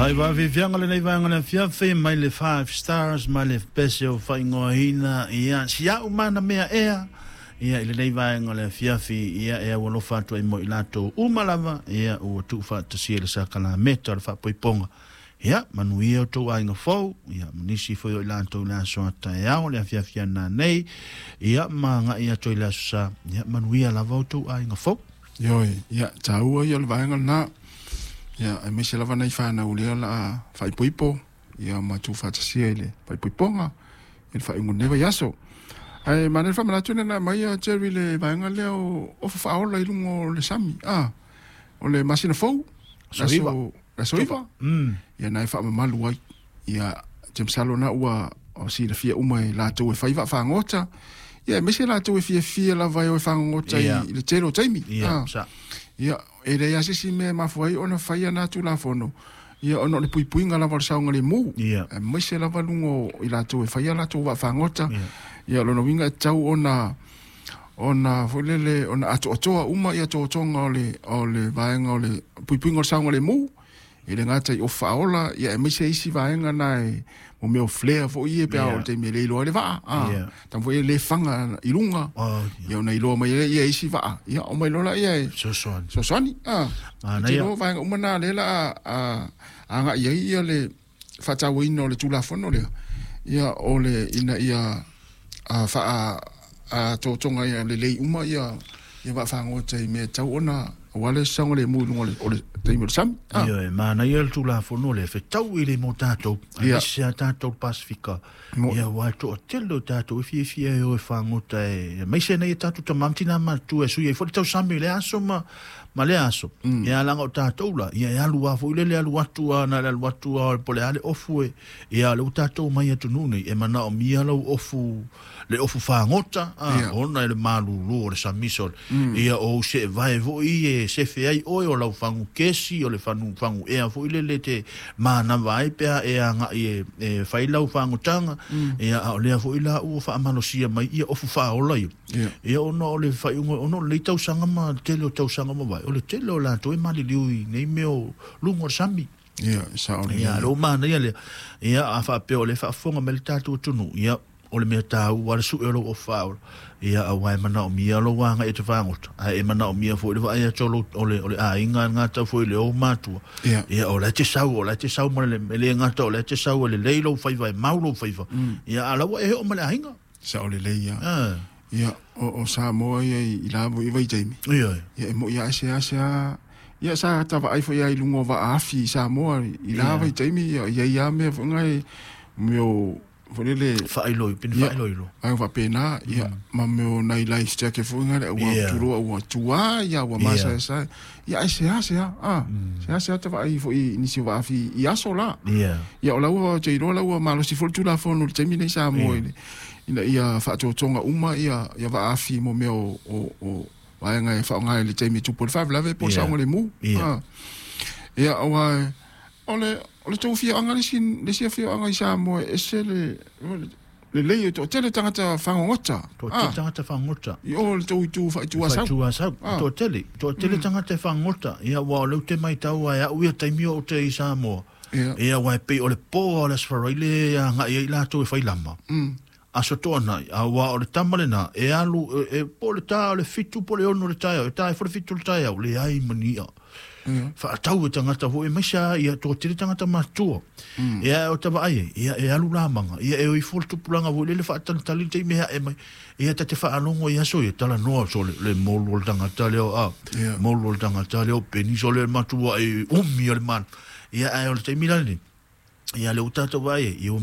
Lai vaafiafiaga lenei vaega le afiafi mai le Five Stars ma le pese o faaigoaina ia si a'u mana mea ea ia i lenei vaega o le afiafi ia e aualofa atu ai mo i latou uma lava ia ua tuufaatasia i le sakalameta o le faapoipoga. Ia manuia outou aiga fou ia ma nisi foi o i latou i le aso a taeao le afiafi ana nei ia ma agai atu ai i le aso Sa. Ia manuia lava outou aiga fou. Ioe, ia taua ia o le vaega lena. Ia aemaise lava nai fanau lea o le a faaipoipo ia ma tuufaatasia i le faaipoipoga i le faaiuga o lenei vaiaso. Ae manaia le faamanatu ina na aumai a Jerry le vaega lea o ofa faaola i luga o le sami, a, o le masina fou, Aso 9. Aso 9. Ia na e faamamalu ai. Ia, ou te masalo na ua silafia uma e latou e fai vaafagota. Ia, aemaise latou e fiafia lava e o e fagogota i le tele o taimi. Ia, e leai lava se isi mea e mafua ai ona faia na Tulafono, ia ona o le puipuiga lava o le saogalemu. Aemaise lava luga o i latou e faia latou vaafagota. Ia, o lona uiga e tatau ona ona foi lele ona atoatoa uma ia totoga o le vaega o le puipuiga o le saogalemu e le gata i ofa faaola ia aemaise isi vaega na e mo mea o flare foi ia pe a o le taimi e le iloa ai le vaa a taimi foi e le faga i luga ia ona iloa mai ai ia isi vaa ia o mai loa laia e Fesoasoani. Fesoasoani a. Manaia. Te vaega uma na lea la a agai ai ia le faatauaina o le Tulafono lea ia o le ina ia a faa a totoga ia lelei uma ia ia vaafagota i mea e tatau ona aua le saogalemu i luga o le taimi o le sami. Ah. Ia, e manaia le Tulafono lea, fetau i le mo tatou, aemaise a tatou Pasifika. Ia, ua e toatele o tatou e fiafia e o e fagota e aemaise nei e tatou tama ma tina matutua e sui ai foi le tausami i le aso ma lea aso. Ia, leaga o tatou la, ia e alu lava foi lele alu atu a na le alu atu a po o le a le ofu e, ia le ua tatou mai atunuu nei, e manaomia lau ofu, le ofu fagota, a, ona e le malulu o le samiso, ia o se vae foi e sefe ai oe o lau fagu kesi, o le fagu, fagu ea foi lele te manava ai pe a e agai e fai lau fagotaga, ia a o lea foi la ua faamalosia mai ia ofu faaola ia. Ia ona o le faaiuga, ona o lenei tausaga ma le tele o tausaga ma vae, o le tele o latou e maliliu i nei mea o luga o le sami. Ia, sao lelei. Ia, lea ua manaia lea. Ia, a faapea o lea e faafofoga mai le tatou atunuu, ia, o le mea taua le sue o lou ofu faaola. Ia, aua e manaomia lou agai e te fagota, ae e manaomia foi le vaai atu o lou, o le aiga e gata foi i le ou matua. Ia, o la e te sau, o la e te sau ma le, e le gata o la e te sau e lelei lou faiva, e mau lou faiva. Ia, a la ua e oo ma le aiga. Sao lelei ia. Ah. Ia, o Samoa ia i la foi vaitaimi. Ia. Ia e moi a se ase a ia sa tavaai foi ai luga o vaafi i Samoa i la vaitaimi ia ia ia mea foi ngai mea o foi lele Faailo, pini faailoilo. Ai faapena ia ma mea o nai life jacket foi ngai ua tuloa ua tua ia ua masaesae ia ai se ase a a se ase a tavaai foi i nisi o vaafi i aso la. Ia o la ua te iloa la ua malosi foi le Tulafono i le taimi nei Samoa i ina ia faatotoga uma ia ia vaafi mo mea o vaega e faaaoga i le taimi e tupu ai le faalavelave po o le saogalemu. Ah. Ia aua o le tou afioaga le isi afioaga i Samoa e ese le lelei o toatele tagata fagogota. Toatele tagata fagota. I o le tou itu faaitu Asau. Faaitu Asau. Toatele, toatele tagata e fagota. Ia ua o lea ou te matau ai au ia taimi o ou te i Samoa. Ia ua e pei o le pō o le Aso Faraile e agai ai latou e fai lama. Aso Toonai, a ua o le tama lena, e alu, e po le tā o le 7 po le 6 le taeao, e tā e fo le 7 le taeao, leai ma ni i'a. Faatau e tagata foi, aemaise lava ia toatele tagata matutua. Ia o tavaai ai, ia e alu lamaga, ia e o ifo le tupulaga foi lele faatalitali le taimi e ae mai. Ia ta te faalogo i aso ia, talanoa so le molu o le tagata lea, a, molu o le tagata lea o peni so le matua e umi o le mana. Ia ae o le taimi la lenei, ia le ua tatou vaai ai, ia ua